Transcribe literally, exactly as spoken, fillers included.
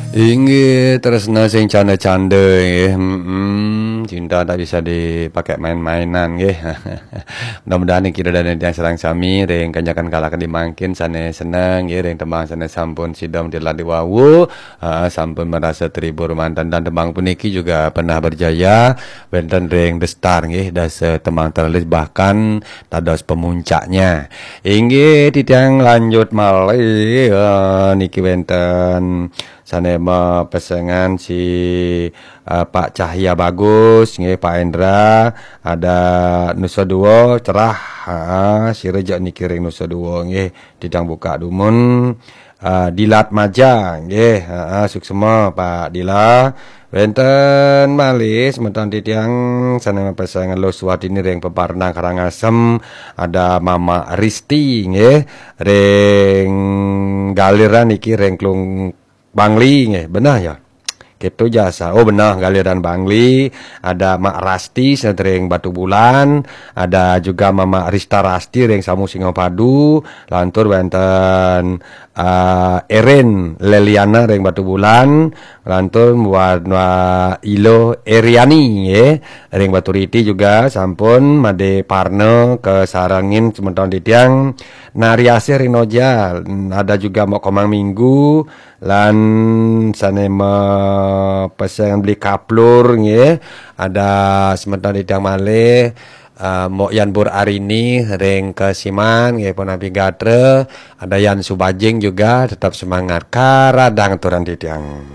Inggih, tresna sing canda-canda nggih. Mm-mm. Cinta tak bisa dipakai main-mainan nggih. Mudah-mudahan niki ida dané titiang sareng sami ring kanyakan kala kadi mangkin sané seneng nggih ring tembang sané sampun sida mirengang wau. Ah, sampun merasa terhibur manten dan tembang puniki juga pernah berjaya wénten ring The Star nggih, dasa tembang terlaris bahkan dados pemuncaknya. Inggih, titiang lanjut malih, eh, niki wénten sané mapesengan si, eh, Pak Cahya Bagus, nggih, Pak Endra, ada Nusa Dua, cerah, ha, sira jak niki ring Nusa Dua, nggih, titiang buka dumun, eh, Dilat Maja, nggih, ha, suksma Pak Dila. Wénten malih semeton titiang sané mapesengan Luh Suwatini ring Peparnang Karangasem, ada Mama Risti, nggih, ring galiran niki ring Klung Bangli nggih, benah ya. Kéto jasa. Oh benah, galiran Bangli, ada Mak Rasti sané ring Batubulan, ada juga Mama Rista Rasti ring Samu Singapadu, lantur wénten, ah, Erin Leliana ring Batubulan, lantur buat, ah, Ilo Eriani nggih, ring Baturiti juga sampun madé parna kasarengin semeton titiang. Nari Asih ring Noja, ada juga Mok Komang Minggu, lan sané mapesengan Beli Kaplur nggih. Ada semeton titiang malih, eh, Mok Yan Bur Arini ring Kesiman nggih, punapi gatra. Ada Yan Subajing juga, tetap semangat. Karadang aturan titiang.